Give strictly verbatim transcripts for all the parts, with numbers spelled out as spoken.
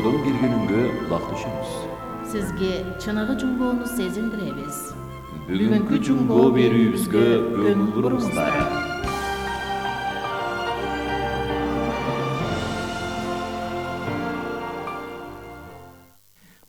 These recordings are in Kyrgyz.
жуңгоодон киргенүнгө кулак түшүңүз. Сизге чыныгы жуңгоону сезиндиребиз. Бүгүнкү жуңгоо берүүбүзгө көңүл буруңуздар.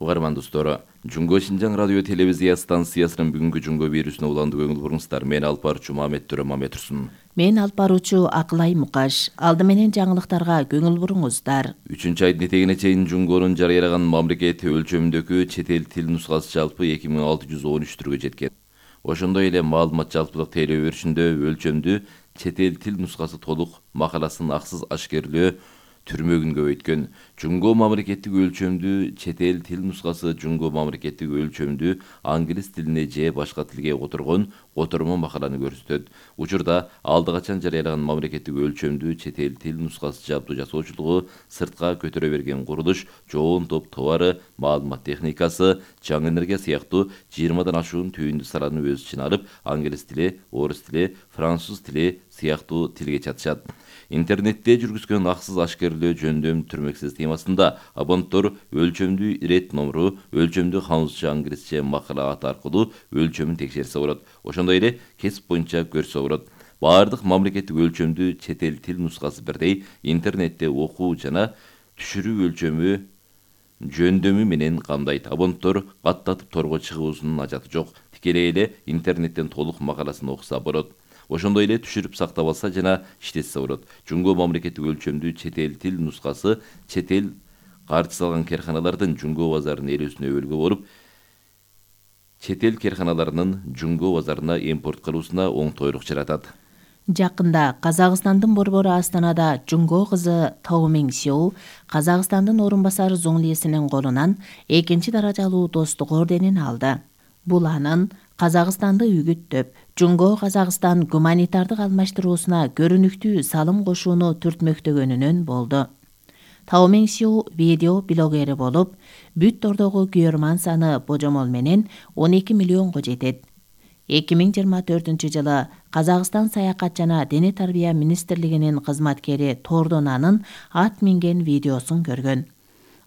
Угарман достор, Жуңго Шинжаң радио телевизия станциясынын бүгүнкү жуңго берүүсүнө уландуу көңүл буруңуздар. Мен алып баруучу Мамет Төрө Мамет Турсун. Мен алып баруучу Акылай Мукаш. Алды менен жаңылыктарга көңүл буруңуздар. үчүнчү айдын этегине чейин жуңгонун жарыялаган мамлекет өлчөмүндөгү чет эл тил нускасы жалпы эки миң алты жүз он үч түргө жеткен. Ошондой эле маалымат жалпылык тейлөө беришинде өлчөмдүү чет эл тил нускасы толук макаласын аксыз ашкерлөө түрмөгүн көбөйткөн. Жуңго мамлекеттик өлчөмдүү чет эл тил нускасы жуңго мамлекеттик өлчөмдүү англис тилине же башка тилге которгон котормо макаланы көрсөтөт. Учурда алды качан жарыялаган мамлекеттик өлчөмдүү чет эл тил нускасы жабдуу жасоочулугу сыртка көтөрө берген курулуш, жоон топ товары, маалымат техникасы, жаңы энергия сыяктуу жыйырмадан ашуун түйүндү саланы өз ичине алып, англис тили, орус тили, француз тили сыяктуу тилге чатышат. Интернетте жүргүзгөн аксыз ашкерлөө жөндөм түрмөксүз темасында абонттор өлчөмдүү ирет номеру, өлчөмдүү французча, англисче макала аты аркылуу өлчөмүн текшерсе болот. Ошондой эле кесип боюнча көрсө болот. Баардык мамлекеттик өлчөмдүү чет эл тил нускасы бирдей интернетте окуу жана түшүрүү өлчөмү жөндөмү менен камдайт. Абонттор каттатып торго чыгуусунун ажаты жок. Тикелей эле интернеттен толук макаласын окуса болот. Ошондой эле түшүрүп сактап алса жана иштетсе болот. Жуңго мамлекеттик өлчөмдүү чет эл тил нускасы чет эл каржы салган керканалардын жуңго базарынын ээлөөсүнө өбөлгө болуп, чет эл керканаларынын жуңго базарына импорт кылуусуна оңтойлук жаратат. Жакында Казакстандын борбору Астанада жуңго кызы Тау Миң Сеу Казакстандын орун басары зоңлиесинин колунан экинчи даражалуу достук орденин алды. Бул анын Казакстанды үгүттөп, жуңго Казакстан гуманитардык алмаштыруусуна көрүнүктүү салым кошууну түртмөктөгөнүнөн болду. Тау Миң Сеу видео блогери болуп, бүт тордогу күйөрман саны божомол менен он эки миллионго жетет. эки миң жыйырма төртүнчү жылы Казакстан саякат жана дене тарбия министрлигинин кызматкери тордон анын ат минген видеосун көргөн.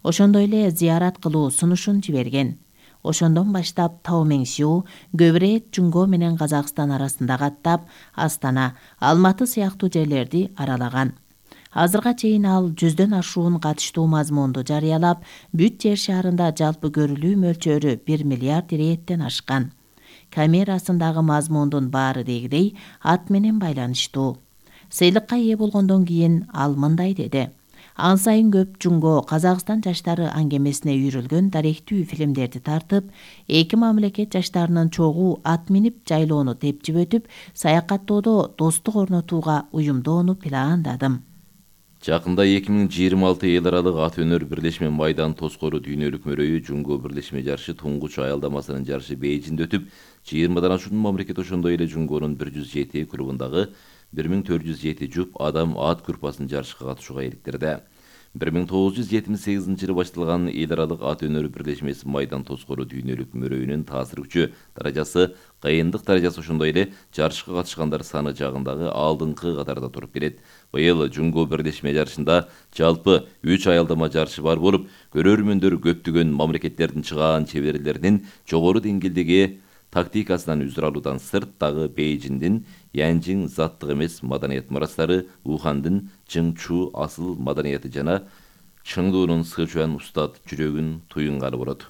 Ошондой эле зыярат кылуу сунушун жиберген. Ошондон баштап Тау Миң Сеу көп ирет жуңго менен Казакстан арасында каттап, Астана, Алматы сыяктуу жерлерди аралаган. Азырга чейин ал жүздөн ашуун катыштуу мазмунду жарыялап, бүт жер шаарында жалпы көрүлүү мөлчөрү бир миллиард иреттен ашкан. Камерасындагы мазмундун баары дегидей ат менен байланыштуу. Сыйлыкка ээ болгондон кийин ал мындай деди: Ан сайын көп жуңго Казакстан жаштары аңгемесине үйрүлгөн даректүү фильмдерди тартып, эки мамлекет жаштарынын чогуу ат минип жайлоону тепчип өтүп, саякаттоодо достук орнотууга уюмдоону пландадым. Жакында эки миң жыйырма алты эл аралык ат өнөр бирлешме майдан тоскоору дүйнөлүк мөрөйү жуңго бирлешме жарышы туңгуч аялдамасынын жарышы Бейжиңде өтүп, жыйырмадан ашуун мамлекет ошондой эле жуңгонун бир жүз жети клубундагы бир миң төрт жүз жети жуп адам ат группасын жарышка катышууга иликтирди. бир миң тогуз жүз жетимиш сегизинчи жылы башталган эл аралык ат өнөр бирлешмеси майдан тоскоору дүйнөлүк мөрөйүнүн таасир күчү даражасы, кыйындык даражасы ошондой эле жарышка катышкандар саны жагындагы алдыңкы катарда туруп келет. Быйыл жуңго бирлешме жарышында жалпы үч аялдама жарышы бар болуп, көрөрмөндөр көптөгөн мамлекеттердин чыгаан чеберлеринин жогору деңгээлдеги тактикасынан үзүр алуудан сырт дагы Бейжиңдин Янжиң заттык эмес маданият мурастары, Ухандын Чыңчу асыл маданияты жана Чыңдуунун Сычуан устат жүрөгүн туюнганы болот.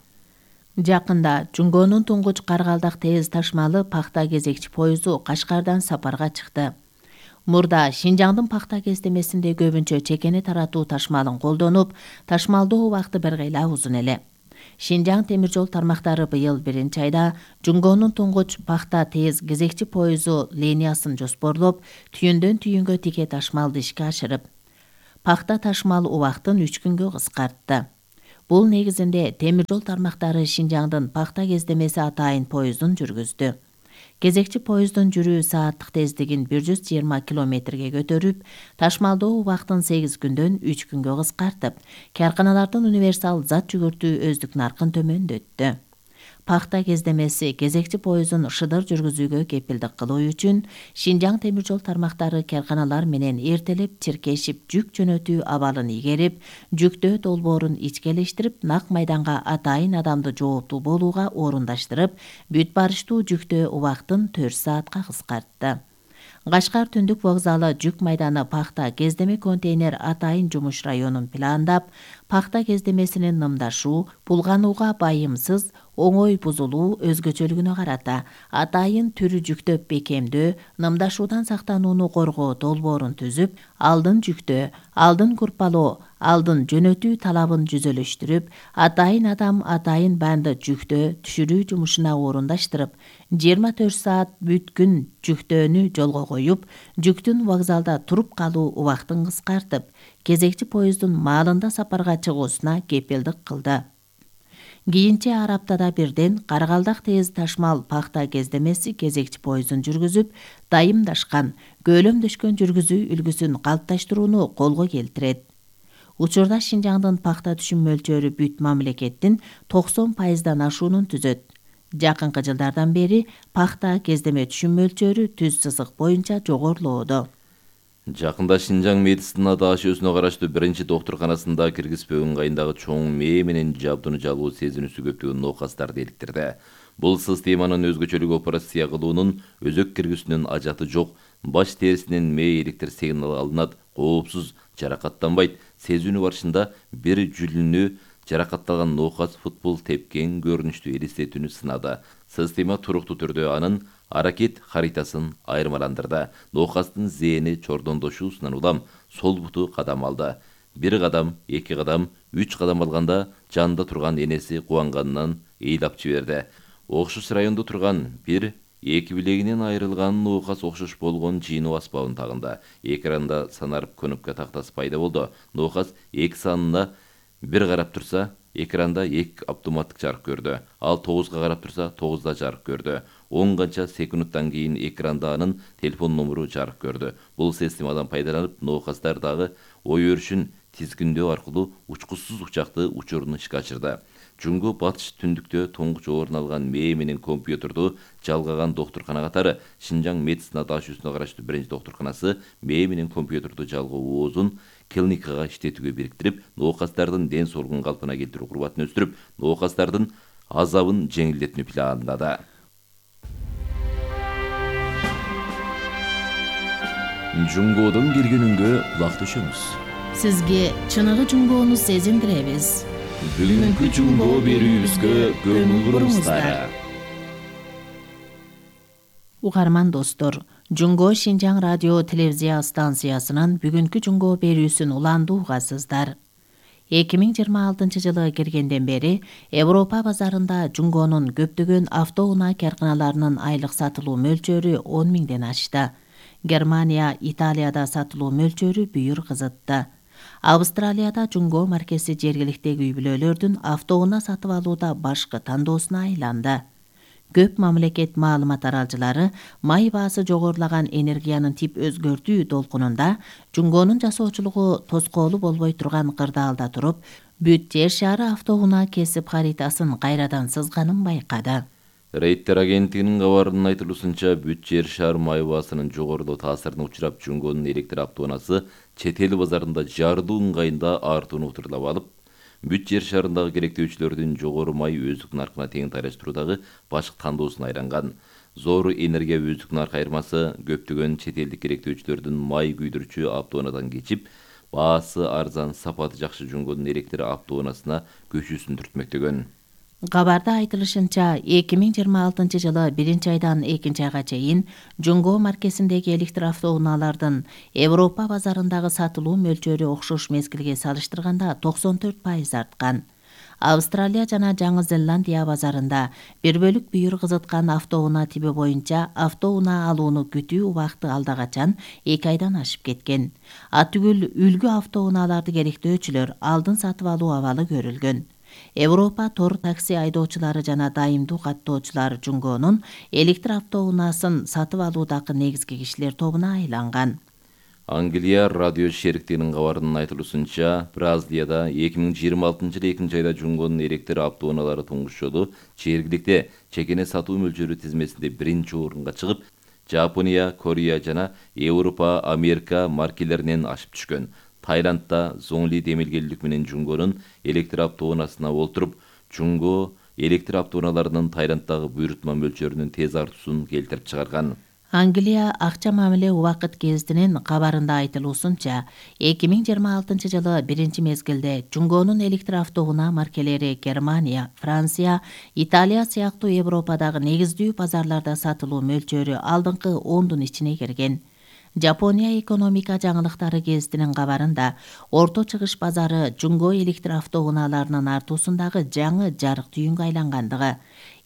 Жакында жуңгонун туңгуч каргалдак тез ташмалы пахта кезекчи поезду Кашкардан сапарга чыкты. Мурда Шинжаңдын пахта кездемесинде көбүнчө чекени таратуу ташмалын колдонуп, ташмалдоо убакыты бир кыйла узун эле. Шинжаң темир жол тармактары быйыл биринчи айда жуңгонун туңгуч пахта тез кезекчи поезду линиясын жоспорлоп, түйүндөн түйүнгө тике ташмалды ишке ашырып, пахта ташмал убактын үч күнгө кыскартты. Бул негизинде темир жол тармактары Шинжаңдын пахта кездемеси атайын поездун жүргүздү. Кезекчи поезддун жүрүү сааттык тездигин бир жүз жыйырма километрге көтөрүп, ташмалдоо убактын сегиз күндөн үч күнгө кыскартып, карканалардын универсал зат жүгүртүү өздүк наркын төмөндөттү. пахта кездемеси кезекчи поездун шыдыр жүргүзүүгө кепилдик кылуу үчүн Шинжаң темир жол тармактары карканалар менен эртелеп чиркешип жүк жөнөтүү абалын игерип, жүктөө долбоорун ичкелештирип, нак майданга атайын адамды жооптуу болууга орундаштырып, бүт барыштуу жүктөө убактын төрт саатка кыскартты. Кашкар түндүк вокзалы жүк майданы пахта кездеме контейнер атайын жумуш районун пландап, пахта кездемесинин нымдашуу, булганууга байымсыз, оңой бузулуу өзгөчөлүгүнө карата атайын түрү жүктөп бекемдөө, нымдашуудан сактанууну коргоо долбоорун түзүп, алдын жүктөө, алдын курпалоо, алдын жөнөтүү талабын жүзөлөштүрүп, атайын адам атайын банды жүктөө, түшүрүү жумушуна орундаштырып, жыйырма төрт саат бүт күн жүктөөнү жолго коюп, жүктүн вокзалда туруп калуу убактын кыскартып, кезекчи поезддун маалында сапарга чыгуусуна кепилдик кылды. Кийинче ар аптада бирден Каргалдак тез ташмал пахта кездемеси кезекчи поездун жүргүзүп, дайымдашкан, көөлөмдөшкөн жүргүзүү үлгүсүн калыпташтырууну колго келтирет. Учурда Шинжаңдын пахта түшүм мөлчөрү бүт мамлекеттин токсон пайыздан ашуунун түзөт. Жакынкы жылдардан бери пахта кездеме түшүм мөлчөрү түз сызык боюнча жогорулоодо. Жакында Шинжаң медицина даашөсүнө караштуу биринчи доктурканасында киргизпөө ыңгайындагы чоң мээ менен жабдууну жалуу сезинүүсү көптөгөн оокастарды иликтирди. Бул системанын өзгөчөлүгү операция кылуунун өзөк киргизүүнүн ажаты жок, баш терисинен мээ электр сигналы алынат, коопсуз, жаракаттанбайт. Сезүүнү барышында бир жүлүнү жаракатталган оокас футбол тепкен көрүнүштүү элестетүүнү сынады. Система туруктуу түрдө анын аракет харитасын айырмаландырды. Оокастын зээни чордондошуусунан улам сол буту кадам алды. Бир кадам, эки кадам, үч кадам алганда жанында турган энеси кубанганынан ыйлап жиберди. Окшош райондо турган бир эки билегинен айрылган оокас окшош болгон жыйноо аспабын тагынды. Экранда санарып кнопка тактасы пайда болду. Оокас эки санына бир карап турса, экранда эки автоматтык жарык көрдү. Ал тогузга карап турса, тогузда жарык көрдү. он канча секундтан кийин экранда анын телефон номеру жарык көрдү. Бул системадан пайдаланып, ноокастар дагы ой өрүшүн тизгиндөө аркылуу учкучсуз учакты учурун ишке ачырды. Жунгу батыш түндүктө тоңгуч орун алган мээ менен компьютерду жалгаган доктуркана катары Шинжаң медицина даашөсүнө караштуу биринчи доктурканасы мээ менен компьютерду жалгоо оозун клиникага иштетүүгө бириктирип, ноокастардын ден соолугун калпына келтирүү курбатын өстүрүп, ноокастардын азабын жеңилдетүүнү пландады. Жунгоодон келгенүнгө кулак түшөңүз. Сизге чыныгы жунгоону сезиндиребиз. Бүгүнкү жунгоо берүүбүзгө көңүл буруңуздар. Угарман достор, Жунгоо Шинжаң радио телевизия станциясынын бүгүнкү жунгоо берүүсүн уланды угасыздар. эки миң жыйырма алтынчы жылы киргенден бери Европа базарында жунгоонун көптөгөн автоунаа карканаларынын айлык сатылуу мөлчөрү он миңден ашты. Германия, Италияда сатылуу мөлчөрү бүйүр кызытты. Австралияда жунгоо маркеси жергиликтеги үй бүлөлөрдүн автоунаа сатып алууда башкы тандоосуна айланды. Көп мамлекет маалымат аралчылары май баасы жогорулаган энергиянын тип өзгөртүү долкунунда жунгоонун жасоочулугу тоскоолу болбой турган кырдаалда туруп, бүт жер шаары автоунаа кесип харитасын кайрадан сызганын байкады. Рейттер агенттигинин кабарынын айтылуусунча, бүт жер шаар май баасынын жогорулуу таасирине учурап, жунгоонун электр автоунаасы чет эл базарында жарылуу ыңгайында артууну утурлап алып, бүт жер шаарындагы керектөөчүлөрдүн жогору май өздүк наркына тең тайлаштыруудагы башкы тандоосуна айланган. Зор энергия өздүк нарк айырмасы көптөгөн чет элдик керектөөчүлөрдүн май күйдүрүүчү автоунаадан кечип, баасы арзан, сапаты жакшы жунгоонун электр автоунаасына көчүүсүн түртмөктөгөн. Кабарда айтылышынча, эки миң жыйырма алтынчы жылы биринчи айдан экинчи айга чейин жунгоо маркесиндеги электр автоунаалардын Европа базарындагы сатылуу мөлчөрү окшош мезгилге салыштырганда токсон төрт пайыз арткан. Австралия жана Жаңы Зеландия базарында бир бөлүк бүйүр кызыткан автоунаа тиби боюнча автоунаа алууну күтүү убакыты алда качан эки айдан ашып кеткен. Атүгүл үлгү автоунааларды керектөөчүлөр алдын сатып алуу абалы көрүлгөн. Европа тор такси айдоочулары жана дайымдуу каттоочулар жунгоонун электр автоунаасын сатып алуудагы негизги кишилер тобуна айланган. Англия радио шериктигинин кабарынын айтылуусунча, Бразилияда эки миң жыйырма алтынчы жылы экинчи айда Жунгонун электр автоунаалары туңгуш жолу чергиликте чекене сатуу мөлчөрү тизмесинде биринчи орунга чыгып, Жапония, Корея жана Европа, Америка маркелеринен ашып түшкөн. Тайландда Зонгли демилгелүүлүк менен Жунгонун электр автоунаасына олтуруп, Жунго электр автоунааларынын Тайланддагы буйрутма мөлчөрүнүн тез артуусун келтирип чыгарган. Англия акча мамиле убакыт гезитинин кабарында айтылуусунча, эки миң жыйырма алтынчы жылы биринчи мезгилде Жунгонун электр автоунаа маркелери Германия, Франция, Италия сыяктуу Европадагы негиздүү базарларда сатылуу мөлчөрү алдыңкы ондун ичине кирген. Жапония экономика жаңылыктары гезитинин кабарында орто чыгыш базары Жунго электр автоунааларынын артуусундагы жаңы жарык түйүнгө айлангандыгы,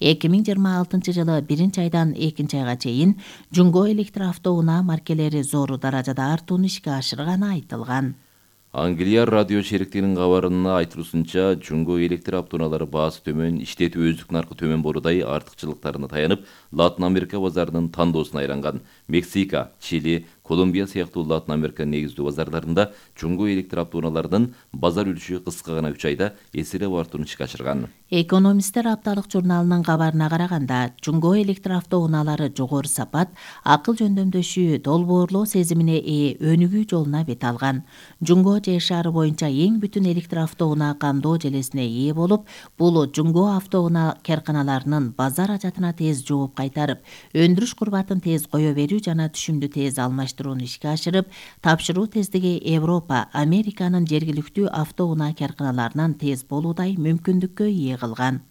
эки миң жыйырма алтынчы жылы биринчи айдан экинчи айга чейин Жунго электр автоунаа маркелери зор даражада артууну ишке ашырганы айтылган. Англия радио шериктигинин кабарына айтылуусунча, Жунго электр автоунаалары баасы төмөн, иштетүү өздүк наркы төмөн болуудай артыкчылыктарына таянып, Латын Америка базарынын тандоосуна айланган. Мексика, Чили, Колумбия сыяктуу Латын Америка негиздүү базарларында Жунго электр автоунааларынын базар үлүшү кыска гана үч айда эселеп артууну ишке ашырган. Экономисттер апталык журналынын кабарына караганда, Жунго электр автоунаалары жогору сапат, акыл жөндөмдөшүү, долбоорлоо сезимине ээ өнүгүү жолуна бет алган. Жунго же шаары боюнча эң бүтүн электр автоунаа кандоо желесине ээ болуп, бул Жунго автоунаа карканаларынын базар ажатына тез жооп кайтарып, өндүрүш курбатын тез кое берүү жана түшүмдү тез алмаштырууну ишке ашырып, тапшыруу тездиги Европа, Американын жергиликтүү автоунаа карканаларынан тез болуудай мүмкүндүккө ээ кылган.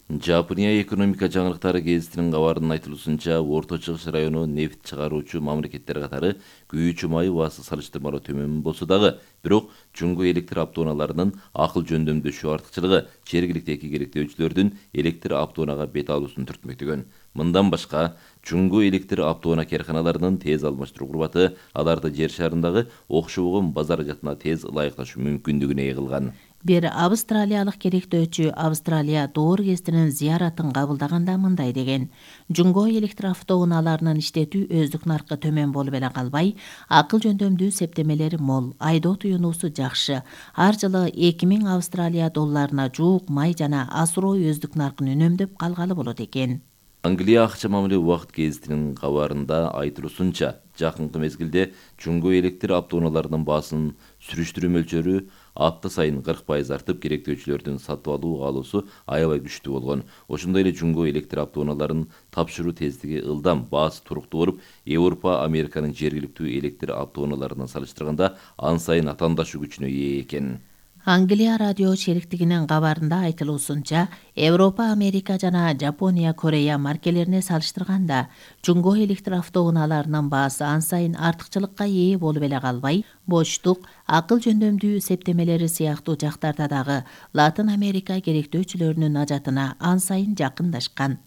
Жапония экономика жаңылыктары гезитинин кабарынын айтылуусунча, Орто Чыгыш району нефт чыгаруучу мамлекеттер катары күйүүчү май баасы салыштырмалуу төмөн болсо дагы, бирок Жунго электр автоунааларынын акыл жөндөмдөшүү артыкчылыгы жергиликтеги керектөөчүлөрдүн электр автоунаага бет алуусун түртмөктөгөн. Мындан башка, Жунго электр автоунаа карканаларынын тез алмаштыруу курбаты аларды жер шарындагы окшогон базар ажатына тез ылайыкташуу мүмкүндүгүнө ээ кылган. Бир австралиялык керектөөчү Австралия доор гезитинин зыяратын кабылдаганда мындай деген: Жунго электр автоунааларынын иштетүү өздүк наркы төмөн болуп эле калбай, акыл жөндөмдүү септемелери мол, айдоо туюнуусу жакшы. Ар жылы эки миң Австралия долларына жуук май жана асуроо өздүк наркын үнөмдөп калгалы болот экен. Англия акча мамиле убакыт гезитинин кабарында айтылуусунча, жакынкы мезгилде Жунго электр автоунааларынын баасын сүрүштүрүү мөлчөрү апта сайын кырк пайыз артып, керектөөчүлөрдүн сатып алуу каалоосу аябай күчтүү болгон. Ошондой эле Жунго электр автоунааларын тапшыруу тездиги ылдам, баасы туруктуу болуп, Европа, Американын жергиликтүү электр автоунааларынан салыштырганда ан сайын атаандашуу күчүнө ээ экен. Англия радио шериктигинин кабарында айтылуусунча, Европа, Америка жана Жапония, Корея маркелерине салыштырганда, Жунго электр автоунааларынын баасы ан сайын артыкчылыкка ээ болуп эле калбай, боштук, акыл жөндөмдүү септемелери сыяктуу жактарда дагы Латын Америка керектөөчүлөрүнүн ажатына ан сайын жакындашкан.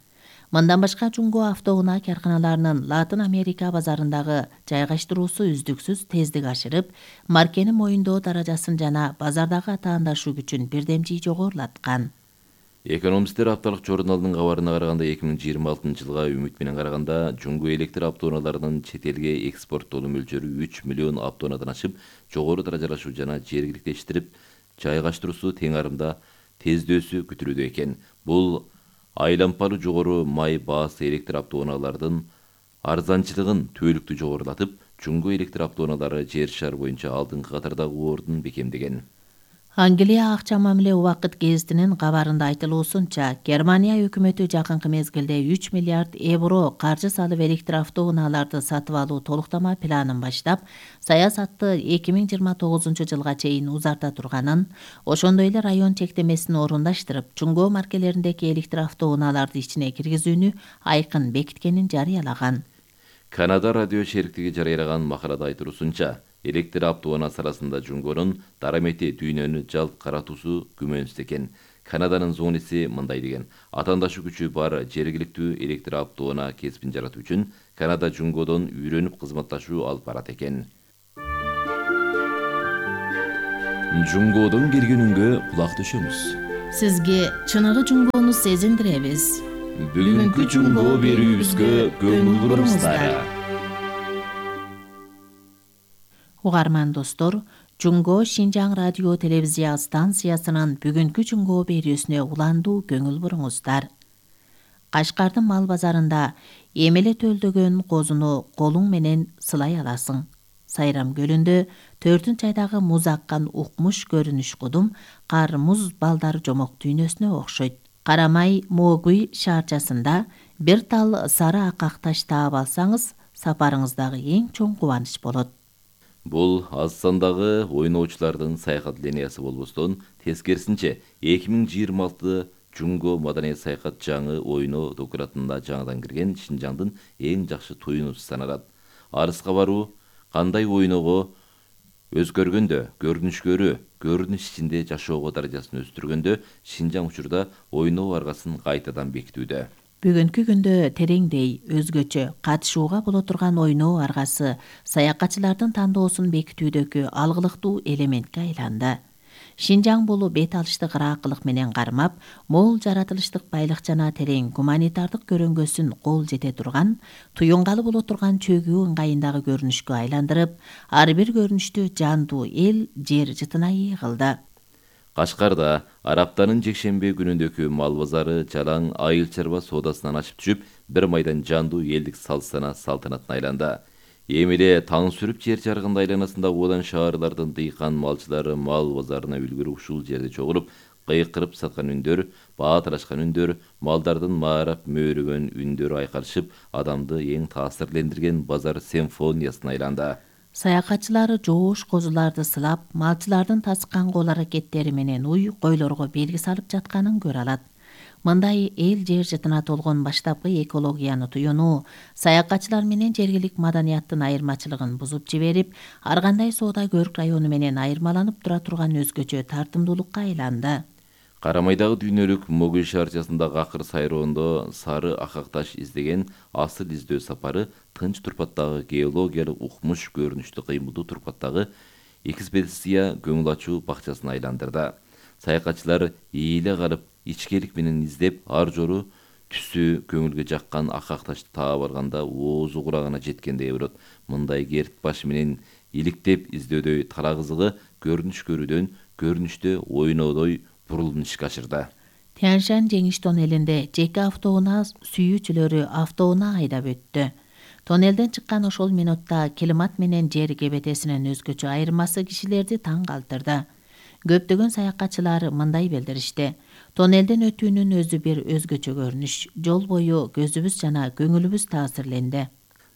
Мындан башка, Жунго автоунаа карканаларынын Латын Америка базарындагы жайгаштыруусу үздүксүз тездик ашырып, маркени моюндоо даражасын жана базардагы атаандашуу күчүн бирдемжий жогорулаткан. Экономисттер апталык журналынын кабарына караганда, эки миң жыйырма алтынчы жылга үмүт менен караганда, Жунго электр автоунааларынын чет элге экспорттолуу мөлчөрү үч миллион автоунаадан ашып, жогору даражалашуу жана жергиликтештирип жайгаштыруусу тең арымда тездөөсү күтүлүүдө экен. Бул айлампалуу жогору май баасы электр автоунаалардын арзанчылыгын түбөлүктүү жогорулатып, Жунго электр автоунаалары жер шары боюнча алдыңкы катардагы ордун бекемдеген. Англия акча мамиле убакыт гезитинин кабарында айтылуусунча, Германия өкмөтү жакынкы мезгилде үч миллиард евро каржы салып электр автоунааларды сатып алуу толуктама планын баштап, саясатты эки миң жыйырма тогузунчу жылга чейин узарта турганын, ошондой эле район чектемесин орундаштырып, Жунго маркелериндеги электр автоунааларды ичине киргизүүнү айкын бекиткенин жарыялаган. Канада радио шериктиги жарыялаган макалада айтылуусунча, электр автоунаасы арасында Жунгонун дарамети дүйнөнү жалп каратуусу күмөнсүз экен. Канаданын зониси мындай деген: атаандашуу күчү бар жергиликтүү электр автоунаа кесипин жаратуу үчүн Канада Жунгодон үйрөнүп кызматташуу алып барат экен. Жунгодон келгенүнгө кулак төшөмүз. Сизге чыныгы Жунгону сезиндиребиз. Бүгүнкү Жунго берүүбүзгө көңүл буруңуздар. Угарман достор, Жунго Шинжаң радио телевизия станциясынын бүгүнкү Жунго берүүсүнө уландуу көңүл буруңуздар. Кашкардын мал базарында эмеле төлдөгөн козуну колуң менен сылай аласың. Сайрам көлүндө төртүнчү айдагы муз аккан укмуш көрүнүш кудум кар муз балдар жомок дүйнөсүнө окшойт. Карамай Могуй шаарчасында бир тал сары акак таш таап алсаңыз, сапарыңыздагы эң чоң кубаныч болот. Бул аз сандагы ойноочулардын саякат линиясы болбостон, тескерисинче эки миң жыйырма алты Жунго маданият саякат жаңы ойноо докуратына жаңыдан кирген Шинжаңдын эң жакшы туюнусу саналат. Арыска баруу кандай ойноого өзгөргөндө, көрүнүшкөрү, көрүнүш ичинде жашоого даражасын өстүргөндө Шинжаң учурда ойноо аргасын кайтадан бекитүүдө. Бүгүнкү күндө тереңдей, өзгөчө, катышууга боло турган ойноо аргасы саякатчылардын тандоосун бекитүүдөгү алгылыктуу элементке айланды. Шинжаң бул бет алыштык ыраакылык менен кармап, мол жаратылыштык байлык жана терең гуманитардык көрөнгөсүн кол жете турган, туюнгалы боло турган чөгүү ыңгайындагы көрүнүшкө айландырып, ар бир көрүнүштү жандуу эл жер жытына ээ кылды. Кашкарда Араптанын жекшемби күнүндөгү мал базары жалаң айыл чарба соодасынан ашып түшүп, бир майдан жандуу элдик салт-сана салтанатына айланды. Эми эле таң сүрүп жер жаргында айланасында одан шаарлардын дыйкан малчылары мал базарына үлгүрүп ушул жерде чогулуп, кыйкырып саткан үндөр, баатырашкан үндөр, малдардын маарап мөөрөгөн үндөр айкалышып, адамды эң таасирлендирген базар симфониясына айланды. Саякатчылары жоош козуларды сылап, малчылардын тасыккан кол аракеттери менен уй койлорго белги салып жатканын көрө алат. Мындай эл жер жытына толгон баштапкы экологияны туюнуу, саякатчылар менен жергилик маданияттын айырмачылыгын бузуп жиберип, ар кандай соода көрк району менен айырмаланып тура турган өзгөчө тартымдуулукка айланды. Карамайдагы дүйнөлүк Могуй шаарчасындагы акыр сайроондо сары акак таш издеген асыл издөө сапары тынч турпаттагы геологиялык укмуш көрүнүштү кыймылдуу турпаттагы экспедиция көңүл ачуу бакчасын айландырды. Саякатчылар ийиле калып, ичкелик менен издеп, ар жору түсү көңүлгө жаккан акак ташты таап алганда оозу кулагына жеткендей болот. Мындай керт баш менен иликтеп издөөдөй тала кызыгы көрүнүш көрүүдөн көрүнүштө ойноодой бурулуп ишке ашырды. Тяньшань жеңиш тоннелинде жеке автоунаа сүйүүчүлөрү автоунаа айдап өттү. Тоннелден чыккан ошол минутта климат менен жер кебетесинин өзгөчө айырмасы кишилерди таң калтырды. Көптөгөн саякатчылар мындай билдиришти. Тоннелден өтүүнүн өзү бир өзгөчө көрүнүш. Жол бою көзүбүз жана көңүлүбүз таасирленди.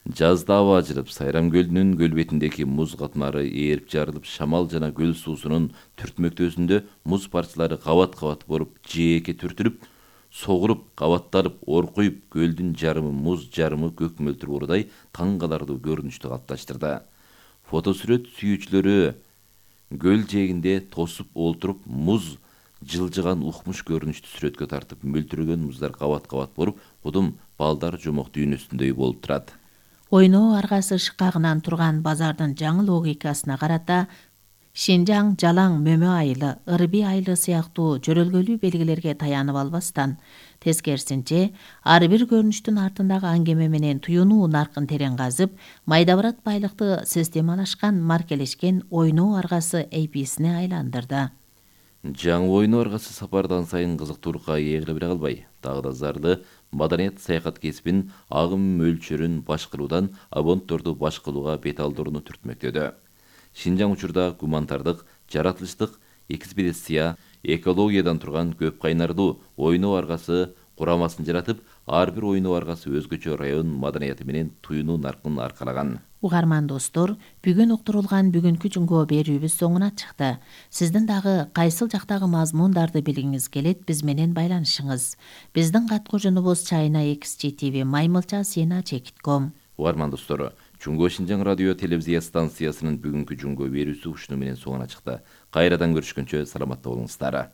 Жазда аба ажырып, Сайрам көлүнүн көл бетиндеги муз катмары ээрип жарылып, шамал жана көл суусунун түртмөктөөсүндө муз парчалары кабат-кабат болуп, жээкке түртүлүп, согулуп, кабатталып, оркуюп, көлдүн жарымы муз, жарымы көк мөлтүр уурудай таң каларлуу көрүнүштү калыпташтырды. Фотосүрөт сүйүүчүлөрү көл жээгинде тосуп олтуруп, муз жылжыган укмуш көрүнүштү сүрөткө тартып, мөлтүрөгөн муздар кабат-кабат болуп, кудум балдар жомок дүйнөсүндөй болуп турат. Ойноо аргасы шыкагынан турган базардын жаңы логикасына карата Шинжаң жалаң мөмө айылы, ырби айылы сыяктуу жөрөлгөлүү белгилерге таянып албастан, тескерисинче, ар бир көрүнүштүн артындагы аңгеме менен туюнуу наркын терең казып, майдабырат байлыкты системалашкан, маркелешкен ойноо аргасы эйписине айландырды. Жаңы ойноо аргасы сапардан сайын кызыктуулукка ээ кыла бере калбай, дагы да зарды маданият саякат кесибин агым мөлчөрүн башкаруудан абонтторду башкалууга бет алдырууну түртмөктөдү. Шинжаң учурда гуманитардык, жаратылыштык экспедиция, экологиядан турган көп кайнардуу ойноо аргасы курамасын жаратып, ар бир ойноо аргасы өзгөчө район маданияты менен туюнуу наркын аркалаган. Угарман достор, бүгүн уктурулган бүгүнкү Жунго берүүбүз соңуна чыкты. Сиздин дагы кайсыл жактагы мазмундарды билгиңиз келет, биз менен байланышыңыз. Биздин каткожунубуз China X G T V маймылча сена чекит ком. Угарман достор, Жунго Шинжаң радио телевизия станциясынын бүгүнкү Жунго берүүсү ушуну менен соңуна чыкты. Кайрадан көрүшкөнчө саламатта болуңуздар.